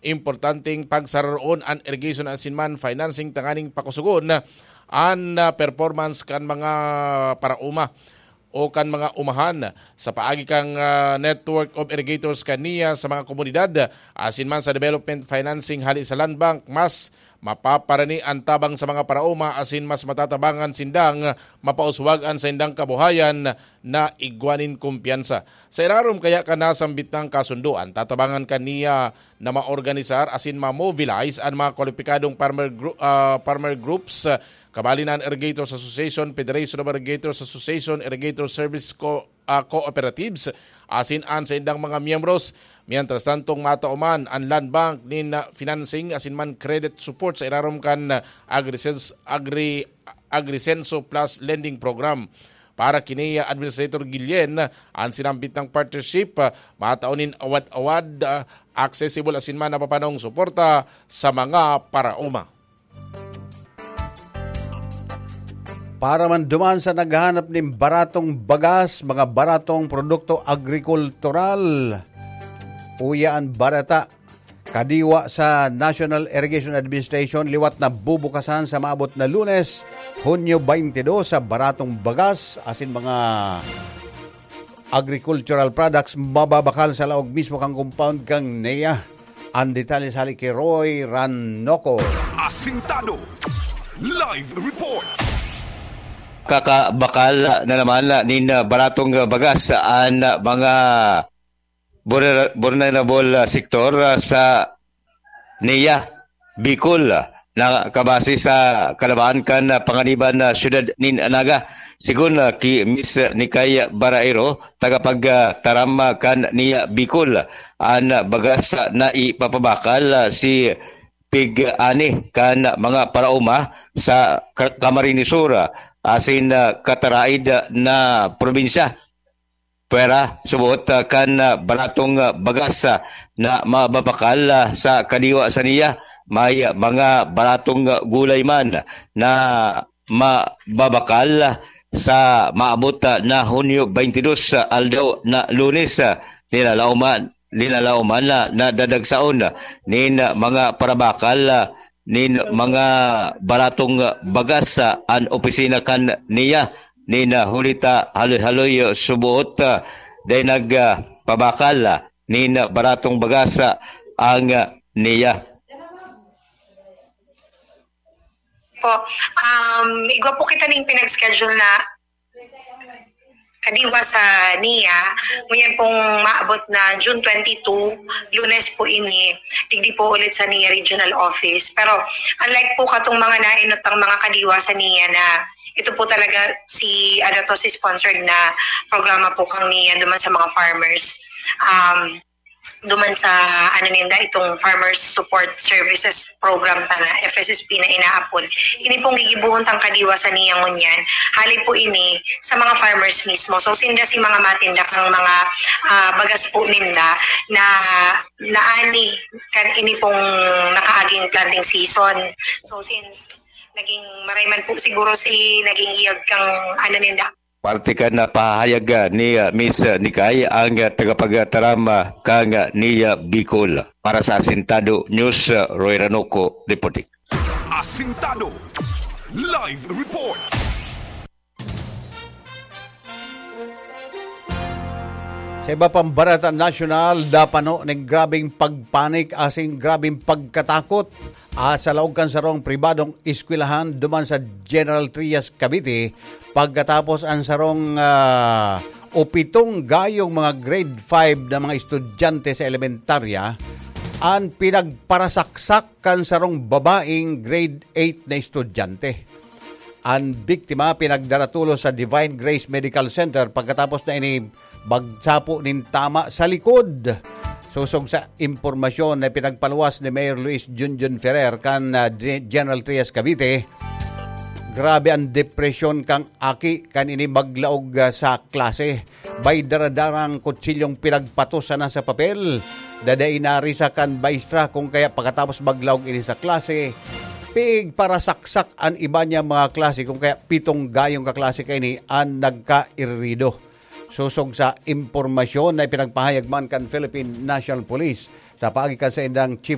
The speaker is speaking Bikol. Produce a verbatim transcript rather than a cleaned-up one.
importanteng pagsararoon an irrigation asin man financing tanganing pakusugon an, ah, performance kan mga paraoma o kan mga umahan. Sa paagi kan, ah, Network of Irrigators kan NIA sa mga komunidad, asin man sa development financing hali sa Land Bank, mas mapaparani an tabang sa mga paraoma asin mas matatabangan sindang mapauswag an saindang kabuhayan na igwa nin kumpiyansa. Sa irarom kaya kan nasambit nang kasundoan, tatabangan kan NIA na maorganisar asin ma-mobilize an mga kwalipikadong farmer gru-, ah, farmer groups, ah, kabali na an Irrigators Association, Federation of Irrigators Association, Irrigator Service Co-, ah, Cooperatives, asin an saindang mga miyembros. Mientras tantong matao man an Land Bank nin, ah, financing asin man credit support sa irarom kan, ah, Agrisense-, Agri-, Agrisenso Plus Lending Program. Para kini, ah, Administrator Guillen, ah, an sinambit nang partnership, ah, matao nin awad-awad, ah, accessible asin man napapanong suporta sa mga paraoma. Para man duman sa naghahanap nin baratong bagas, mga baratong produkto agrikultural, uya an barata. Kadiwa sa National Irrigation Administration, liwat na bubukasan sa maabot na Lunes, Hunyo twenty-two, sa baratong bagas asin mga agricultural products mababakal sa laog mismo kan compound kan NIA. An detalye sa hali ki Roy Ranoco. Asintado. Live report. Kakabakal na naman nin baratong bagas an mga vulner-, vulnerable, ah, sektor, ah, sa NIA Bicol, ah, na kabase sa kalabaan kan, ah, panganiban na siyudad nin Naga. Sigon, ah, ki Miss Nikay Baraero, tagapagtaram, ah, kan NIA Bicol, an, ah, bagas, ah, na ipapabakal, ah, si pig-ani kan mga paraoma sa Ka-, Camarines Sur, ah, asin, ah, Cataraid, ah, na probinsya. Pwera, suboot, ah, kan, ah, baratong, ah, bagas, ah, na mababakal, ah, sa kadiwa sa NIA, may, ah, mga baratong, ah, gulay man na mababakal, ah, sa maabot, ah, na Hunyo twenty-two, ah, aldaw na Lunes, ah, nilalaoman, nilalaoman na nadadagsaon, ah, nin, ah, mga parabakal, ah, nin mga baratong bagas sa an opisina kan NIA nin, ah, huli ta haloy-haloy, ah, suboot, ah, dai nag, ah, pabakal, ah, nin baratong bagas sa ang, ah, NIA. Po, um, igwa po kita ning pinag-schedule na kadiwa sa NIA, ngunyan pong maabot na June twenty-two, Lunes po ini, digdi po ulit sa NIA Regional Office. Pero unlike po katong mga nainot ang mga kadiwa sa NIA na ito po talaga si, ano to, si sponsored na programa po kang NIA duman sa mga farmers. Um, duman sa, ano ninda, itong Farmers Support Services Program ta na, F S S P na inaapod. Ini pong gigibohon tang kadiwa sa NIA ngunyan, hali po ini sa mga farmers mismo. So, sinda si mga matinda kang mga, ah, bagas po ninda na naani kan ini pong nakaaging planting season. So, since naging maray man po siguro si naging yield kang ano ninda, Parte kan, ah, pahayag, ah, ni, ah, Miss, ah, Nikay, ang, ah, tagapagtaram, ah, kan, ah, NIA Bicol. Para sa Asintado News, ah, Roy Ranoco, reporting. Asintado Live Report. Sa iba pang barata nasyonal, napano ning grabeng pagpanik asin grabeng pagkatakot, ah, sa laog kan sarong pribadong eskwelahan duman sa General Trias, Cavite, pagkatapos an sarong, ah, o pitong gayong mga grade five na mga estudyante sa elementarya an pinagparasaksak kan sarong babaeng grade eight na estudyante. An biktima pinagdara tolos sa Divine Grace Medical Center pagkatapos na ini magsapo nin tama sa likod. Sosog sa impormasyon na pinagpaluwas ni Mayor Luis Junjun Ferrer kan, ah, Ge-, General Trias, Cavite, grabe an depresyon kan aki kan ini maglaog, ah, sa klase. May daradarang kutsilyong pinagpatos sana sa papel. Dadainari sa kan maestra kung kaya pagkatapos maglaog ini sa klase, pigparasaksak an iba niya mga klase kung kaya pitong gayong kaklase kaini an nagkairido. Sosog sa impormasyon na ipinagpahayag man kan Philippine National Police sa paagi kan saindang Chief